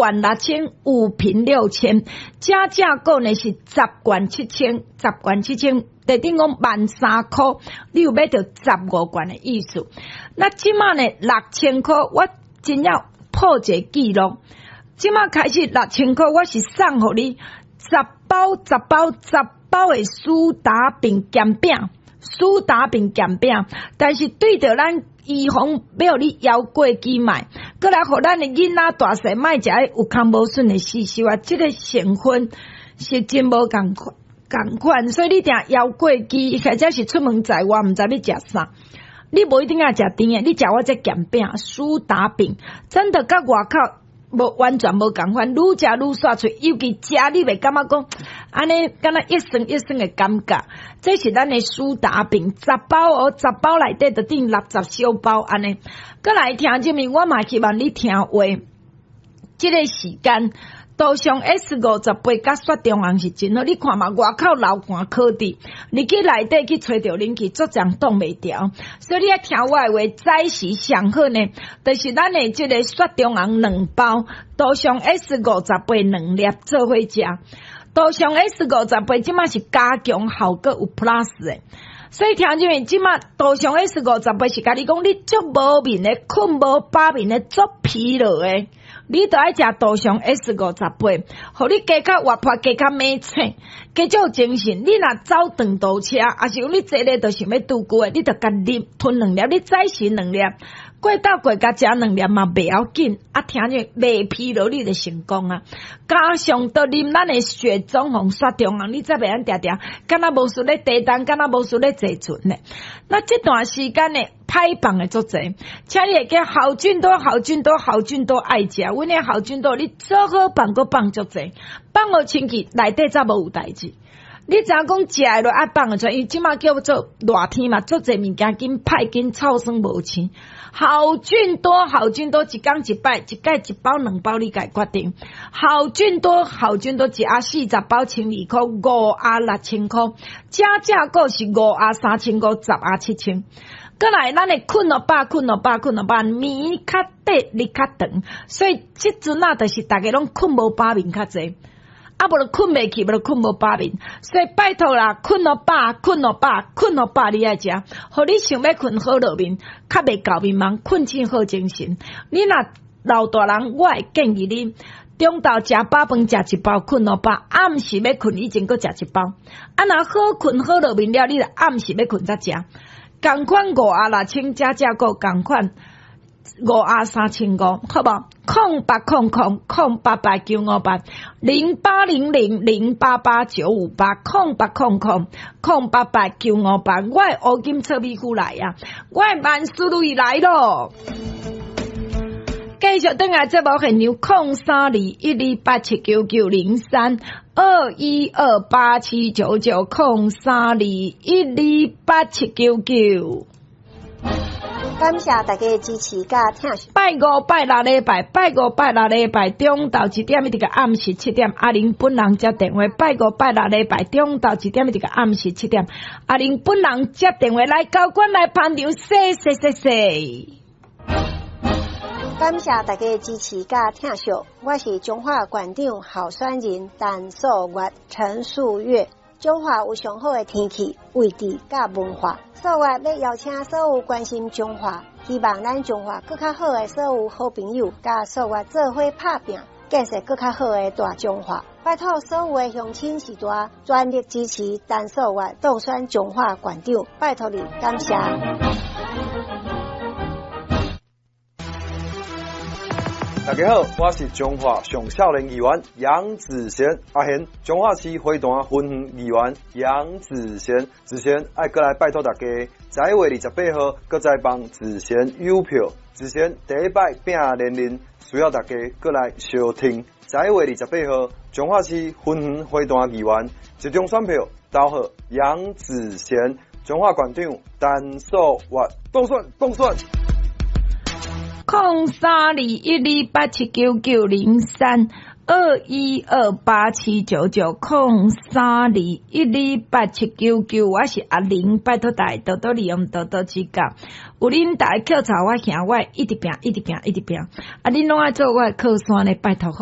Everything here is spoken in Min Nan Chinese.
罐六千，五瓶六千，加價購呢是十罐七千，十罐七千，就等於講13,000箍，你有買著15罐的意思。那這馬呢六千箍，我真正破一个紀錄。這馬開始六千箍，我是送予你十包、十包、十包的蘇打餅鹹餅，蘇打餅鹹餅，但是對著咱預防欲予你猶過期賣，閣來予咱的囡仔大細莫食有空無筍的死鏽啊！這个成分是真無仝款仝款，所以你定猶過期，或者是出門在外，毋知欲食啥。你無一定愛食甜的，你食我這鹹餅、蘇打餅，真的佮外口無完全無仝款，愈食愈煞喙，尤其食你袂感覺講，按呢敢若一酸一酸的感覺。這是咱的蘇打餅，十包哦，十包內底就等於60小包按呢。閣來聽這面，我嘛希望你聽話。這个時間，杜尚 S 五十八佮雪中紅是真好，你看嘛，外口流汗可滴，你去內底去吹著冷氣，足脹擋袂牢。所以你愛聽我的話，早時上好呢，就是咱的這个雪中紅兩包，杜尚 S 五十八兩粒做伙食。杜尚 S 五十八這馬是加強效果有 plus 的，所以聽這面這馬杜尚 S 五十八是共你講，你足無眠的，睏無飽眠的，足疲勞的。你都愛食杜尚 S 五十八，予你加較活潑，加較猛醒，加較有精神。你若走長途車，抑是講你坐咧就想欲拄久的，你就共啉吞兩粒，你早時兩粒，過晝過共食兩粒嘛袂要緊。啊，聽者袂疲勞，你就成功啊！加上著啉咱的雪中紅、雪中紅，你才袂按定定，敢若無事咧地動，敢若無事咧坐船咧。那這段時間呢，歹放的足濟，請你會記好菌多、好菌多、好菌多愛食。阮的好菌多，你做好放閣放足濟，放予清氣內底才無有代誌。你知影講食會落愛放會出來，因為這馬叫做熱天嘛，足濟物件緊歹緊臭酸無鮮。好菌多，好菌多，一工一擺，一蓋一包兩包，你家決定。好菌多，好菌多，一盒40包12,000箍，五盒6,000箍，加價購是五盒3,500，10盒7,000。閣來，咱的睏予飽，睏予飽，睏予飽，暝較短，日較長，所以這陣仔就是逐家攏睏無飽眠較濟。啊，無就睏袂去，無就睏無飽眠，所以拜託啦，睏予飽，睏予飽，睏予飽，你愛食，予你想欲睏好落眠，較袂厚眠夢，睏醒好精神。你若老大人，我會建議你中晝食飽飯，食一包睏予飽，暗時欲睏以前閣食一包。啊，若好睏好落眠了，你就暗時欲睏才食。仝款五盒六千，加價購仝款五盒3,500，好無？0800 008 8958，0800 088 958，0800 088 958。我的烏金臭米糊來啊！我的萬事如意來咯！繼續轉來節目現場，0321287990，3，2128799，0321287999。感謝大家的支持佮聽。拜五、拜六禮拜，拜五、拜六禮拜中晝一點一直到暗時七點，阿玲本人接電話。拜五、拜六禮拜中晝一點一直到暗時七點，阿玲本人接電話來交關來捧場，謝謝謝謝。感謝大家的支持佮疼惜，我是彰化縣長候選人陳素月陳素月。彰化有上好的天氣、位置佮文化，素月欲邀請所有關心彰化、希望咱彰化閣較好的所有好朋友，佮素月做伙拍拚，建設閣較好的大彰化。拜託所有的鄉親序大，全力支持陳素月當選彰化縣長，拜託你，感謝。大家好，我是彰化上少年議員楊子賢阿賢，彰化市花壇分園議員楊子賢，子賢愛閣來拜託大家，11月28號，閣再幫子賢郵票，子賢第一擺拼連任，需要大家閣來相挺。11月28號，彰化市分園花壇議員，一張選票投予楊子賢，彰化縣長陳素月當選當選。0321287990，3，2128799，0321287999，我是阿玲，拜託大家多多利用，多多指教。有恁大家扣查我兄，我一直拼，一直拼，一直拼。啊，恁攏愛做我的靠山呢，拜託。